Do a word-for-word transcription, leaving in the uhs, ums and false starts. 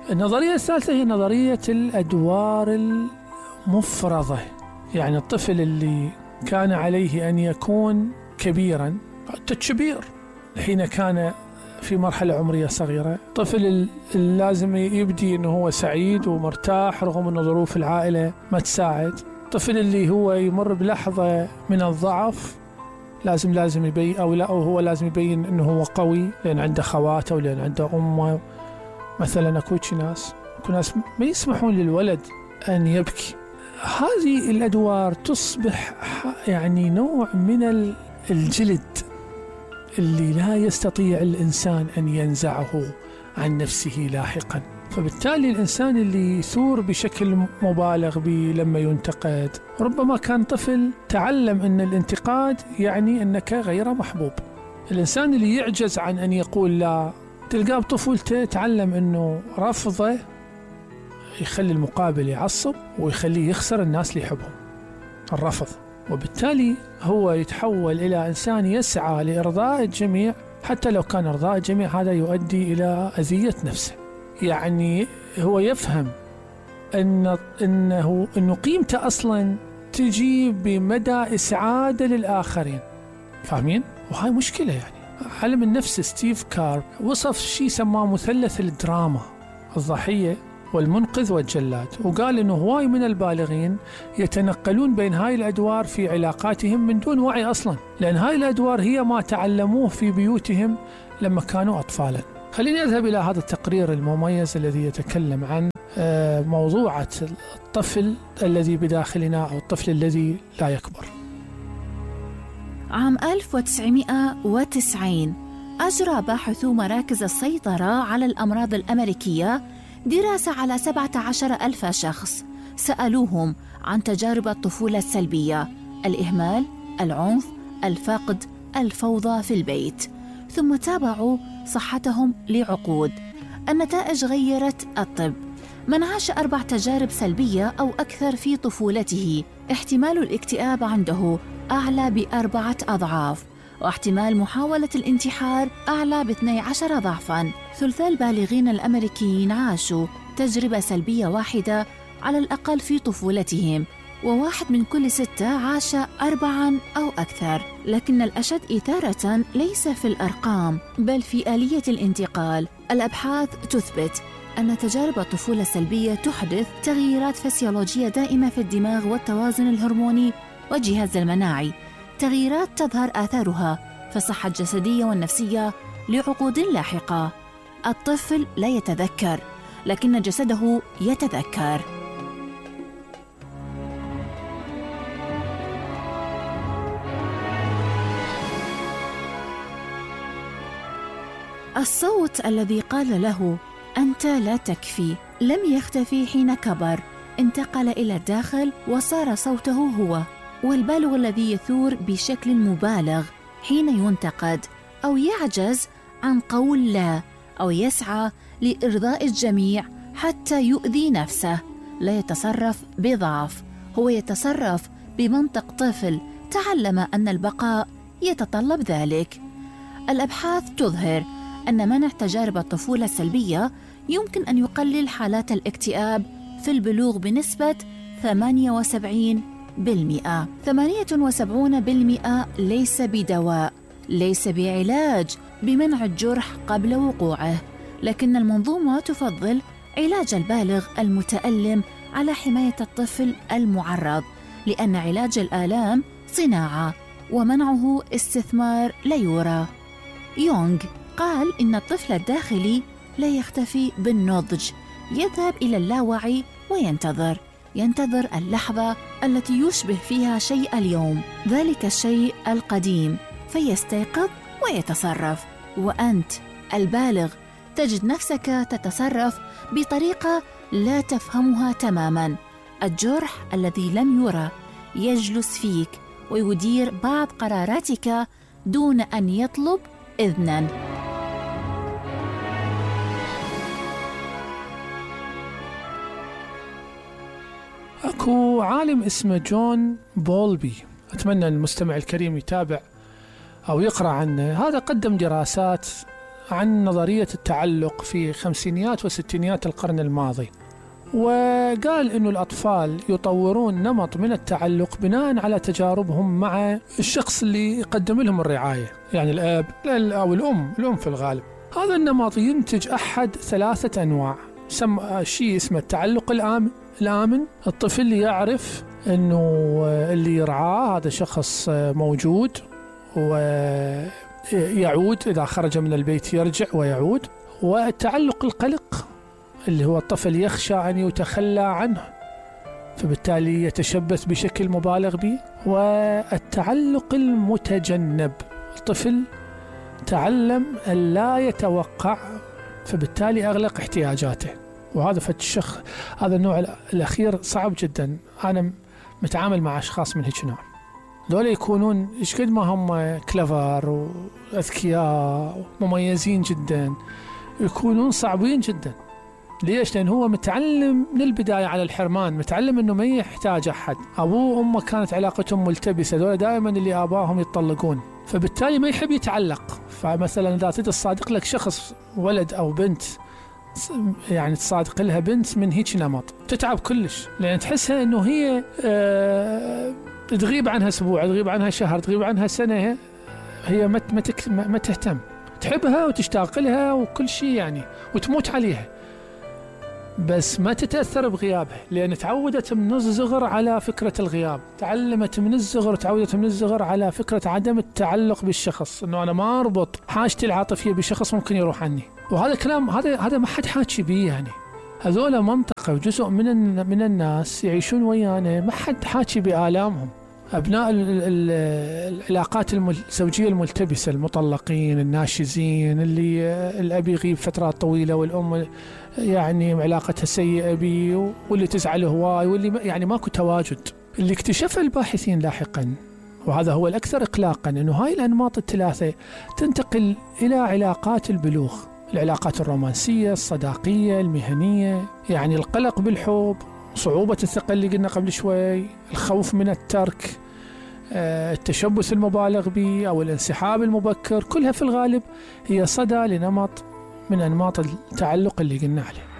النظرية الثالثة هي نظرية الأدوار المفرضة. يعني الطفل اللي كان عليه أن يكون كبيرا حتى كبير حين كان في مرحلة عمرية صغيرة، طفل لازم يبدي أنه هو سعيد ومرتاح رغم أن ظروف العائلة ما تساعد. طفل اللي هو يمر بلحظة من الضعف لازم لازم يبين أو لا أو هو لازم يبين أنه هو قوي لأن عنده خواته ولأن عنده أمه. مثلا أكو ناس أكو ناس ما يسمحون للولد أن يبكي. هذه الأدوار تصبح يعني نوع من الجلد اللي لا يستطيع الإنسان أن ينزعه عن نفسه لاحقا. فبالتالي الإنسان اللي يثور بشكل مبالغ به لما ينتقد ربما كان طفل تعلم أن الانتقاد يعني أنك غير محبوب. الإنسان اللي يعجز عن أن يقول لا تلقاه بطفولته تعلم أنه رفضه يخلي المقابل يعصب ويخليه يخسر الناس اللي يحبهم، الرفض. وبالتالي هو يتحول إلى إنسان يسعى لإرضاء الجميع حتى لو كان إرضاء الجميع هذا يؤدي إلى أذية نفسه. يعني هو يفهم أن أنه أنه قيمته أصلا تجي بمدى إسعاده للآخرين. فاهمين؟ وهاي مشكلة. يعني علم النفس ستيف كارب وصف شيء سماه مثلث الدراما: الضحية والمنقذ والجلاد، وقال إنه هواي من البالغين يتنقلون بين هاي الأدوار في علاقاتهم من دون وعي أصلا، لأن هاي الأدوار هي ما تعلموه في بيوتهم لما كانوا أطفالا. خليني أذهب إلى هذا التقرير المميز الذي يتكلم عن موضوعة الطفل الذي بداخلنا أو الطفل الذي لا يكبر. عام ألف وتسعمائة وتسعين أجرى باحثو مراكز السيطرة على الأمراض الأمريكية دراسة على سبعة عشر ألف شخص، سألوهم عن تجارب الطفولة السلبية: الإهمال، العنف، الفقد، الفوضى في البيت، ثم تابعوا صحتهم لعقود. النتائج غيرت الطب. من عاش أربع تجارب سلبية أو أكثر في طفولته احتمال الاكتئاب عنده أعلى بأربعة أضعاف، واحتمال محاولة الانتحار أعلى باثني عشر ضعفاً. ثلث البالغين الأمريكيين عاشوا تجربة سلبية واحدة على الأقل في طفولتهم، وواحد من كل ستة عاش أربعاً أو أكثر. لكن الأشد إثارة ليس في الأرقام بل في آلية الانتقال. الأبحاث تثبت أن تجارب الطفولة السلبية تحدث تغييرات فسيولوجية دائمة في الدماغ والتوازن الهرموني والجهاز المناعي، تغييرات تظهر آثارها في الصحة الجسدية والنفسية لعقود لاحقة. الطفل لا يتذكر، لكن جسده يتذكر. الصوت الذي قال له أنت لا تكفي لم يختفي حين كبر، انتقل إلى الداخل وصار صوته هو. والبالغ الذي يثور بشكل مبالغ حين ينتقد أو يعجز عن قول لا أو يسعى لإرضاء الجميع حتى يؤذي نفسه لا يتصرف بضعف، هو يتصرف بمنطق طفل تعلم أن البقاء يتطلب ذلك. الأبحاث تظهر أن منع تجارب الطفولة السلبية يمكن أن يقلل حالات الاكتئاب في البلوغ بنسبة ثمانية وسبعين بالمئة. ثمانية وسبعين بالمئة ليس بدواء، ليس بعلاج بمنع الجرح قبل وقوعه، لكن المنظومة تفضل علاج البالغ المتألم على حماية الطفل المعرض، لأن علاج الآلام صناعة ومنعه استثمار لا يرى. يونغ قال إن الطفل الداخلي لا يختفي بالنضج، يذهب إلى اللاوعي وينتظر ينتظر اللحظة التي يشبه فيها شيء اليوم، ذلك الشيء القديم، فيستيقظ ويتصرف. وأنت البالغ تجد نفسك تتصرف بطريقة لا تفهمها تماماً. الجرح الذي لم يرى يجلس فيك ويدير بعض قراراتك دون أن يطلب إذناً. أكو عالم اسمه جون بولبي، أتمنى المستمع الكريم يتابع أو يقرأ عنه. هذا قدم دراسات عن نظرية التعلق في خمسينيات وستينيات القرن الماضي، وقال إنه الأطفال يطورون نمط من التعلق بناء على تجاربهم مع الشخص اللي يقدم لهم الرعاية، يعني الأب أو الأم الأم في الغالب. هذا النمط ينتج أحد ثلاثة أنواع، سم شيء اسمه التعلق الآمن. الآمن الطفل اللي يعرف إنه اللي يرعاه هذا شخص موجود ويعود إذا خرج من البيت يرجع ويعود. والتعلق القلق اللي هو الطفل يخشى أن يتخلى عنه فبالتالي يتشبث بشكل مبالغ به. والتعلق المتجنب، الطفل تعلم أن لا يتوقع فبالتالي أغلق احتياجاته، وهذا فالشخص هذا النوع الأخير صعب جدا. أنا متعامل مع أشخاص من هيك نوع، دول يكونون إيش قد ما هم كلفر وأذكياء ومميزين جدا، يكونون صعبين جدا. ليش؟ لأن هو متعلم من البداية على الحرمان، متعلم أنه ما يحتاج أحد. أبوه وأمه كانت علاقتهم ملتبسة، دول دائما اللي آباهم يتطلقون، فبالتالي ما يحب يتعلق. فمثلا إذا تدي تصادق لك شخص ولد أو بنت، يعني تصادق لها بنت من هيك نمط، تتعب كلش، لأن تحسها أنه هي آه تغيب عنها أسبوع، تغيب عنها شهر، تغيب عنها سنة، هي ما ما تهتم، تحبها وتشتاق لها وكل شيء يعني، وتموت عليها، بس ما تتأثر بغيابها، لأن تعودت من الصغر على فكرة الغياب، تعلمت من الصغر، تعودت من الصغر على فكرة عدم التعلق بالشخص، إنه أنا ما أربط حاجتي العاطفية بشخص ممكن يروح عني. وهذا كلام هذا هذا ما حد حاكي بيه، يعني هذول منطقة وجزء من من الناس يعيشون ويانا ما حد حاكي بآلامهم. أبناء العلاقات الزوجية الملتبسة، المطلقين، الناشزين، اللي الأب يغيب فترات طويلة والأم يعني علاقتها سيئة بي، واللي تزعل هواي، واللي يعني ماكو تواجد. اللي اكتشفه الباحثين لاحقا، وهذا هو الأكثر إقلاقا، أنه هاي الأنماط الثلاثة تنتقل إلى علاقات البلوغ، العلاقات الرومانسية، الصداقية، المهنية، يعني القلق بالحب، صعوبة الثقة اللي قلنا قبل شوي، الخوف من الترك، التشبث المبالغ به أو الانسحاب المبكر، كلها في الغالب هي صدى لنمط من أنماط التعلق اللي قلنا عليه.